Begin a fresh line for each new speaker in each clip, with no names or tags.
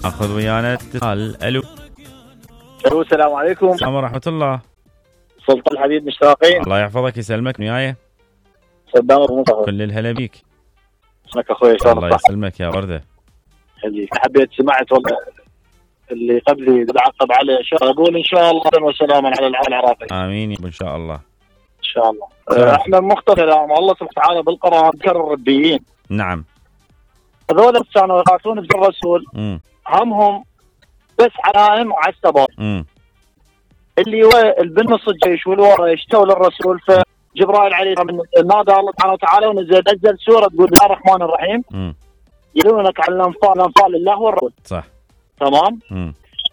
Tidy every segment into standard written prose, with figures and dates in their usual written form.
اخذ ويانا اتصال. الو
السلام عليكم.
السلام ورحمة الله.
سلطان الحبيب مشتاقين.
الله يحفظك يسلمك. وياي
صدام ابو مصطفى.
كل الهلا بيك.
اسمك اخوي
الله يسلمك يا وردة.
خليك. حبيت سمعت والله اللي قبلي عقب عليه اقول ان شاء الله وسلاما على العالم العراقي.
امين ان شاء الله.
ان شاء الله. احنا مختلف الله سبحانه وتعالى بالقران ذكر الربيين.
نعم.
هذول كانوا يقاتلون بالرسول. همهم بس علائم وعلى السبب. اللي هو بالنص الجيش والورا يشتوا للرسول. فجبرائيل عليه نادى الله سبحانه وتعالى ونزل سوره تقول بسم الله الرحمن الرحيم. يلونك على الانفال الله والرسول.
صح.
تمام.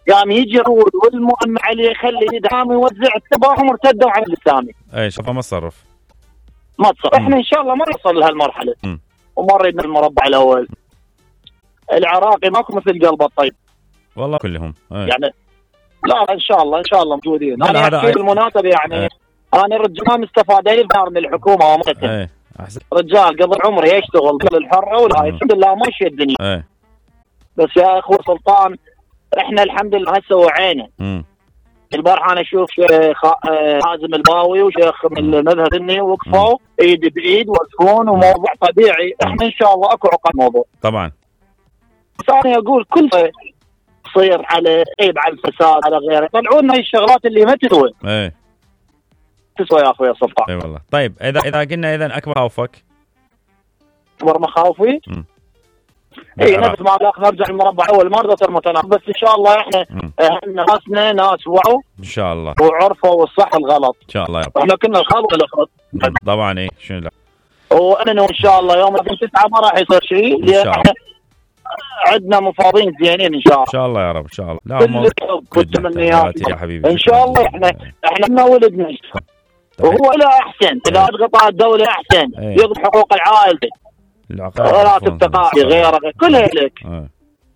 قام يجي الرسول والمؤمن عليه يخلي يدعم يوزع اتباعهم وارتدوا على الاسلامي.
اي شوف ما تصرف.
احنا ان شاء الله ما نوصل لهالمرحله. وما نريد المربع الاول. العراقي ماكو مثل قلبه الطيب.
والله كلهم.
يعني لا ان شاء الله موجودين. انا احكي بالمناسبه يعني انا رجال مستفاد من الحكومه ومتى. رجال قبل عمري يشتغل الحره ولا الحمد لله ماشيه الدنيا. بس يا اخو سلطان احنا الحمد لله هسه وعينا. البارحه انا اشوف حازم الباوي وشيخ من المذهب السني وقفوا ايد بايد وقفون وموضوع طبيعي. احنا ان شاء الله اكو عقد موضوع
طبعا.
ثاني اقول كل شيء تصير على عيب على الفساد على غيره. طلعوا لنا الشغلات اللي ما تسوى. تسوى يا اخوي سلطان.
اي والله. طيب اذا قلنا اذا اكبر خوفك.
اكبر مخاوفي اي نفس ما نرجع المربع الاول ما رضيت المتناقض. بس ان شاء الله احنا ناسنا ناس وعوا
ان شاء الله
وعرفوا الصح والغلط
ان شاء الله.
احنا كنا الخلق الاخر
طبعا. اي شنو لا
وانا ان شاء الله يوم 9 ما راح يصير شيء لان احنا عندنا مفاوضين زينين ان شاء الله.
ان شاء الله يا رب ان شاء الله. لا
والتمنيات
يا حبيبي
ان شاء الله. احنا من ولدنا وهو لا احسن اذا تقطع الدوله احسن يضبط حقوق العائله راتب التقاعد غيره كلها لك.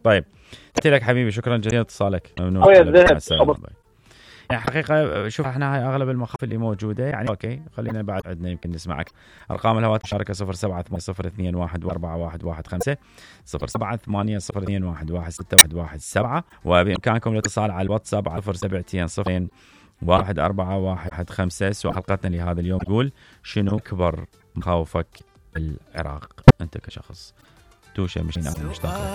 طيب قلت لك حبيبي شكرا جزيلا اتصالك. ممنون. يعني حقيقة شوف احنا هاي اغلب المخاوف اللي موجودة يعني اوكي خلينا بعد عندنا يمكن نسمعك. ارقام الهواتف مشاركة 0780211115 0780211617 وبامكانكم الاتصال على الواتساب على 0720141115. سؤال حلقتنا لهذا اليوم يقول شنو اكبر مخاوفك بالعراق انت كشخص؟ توشه مشين او مشتاق.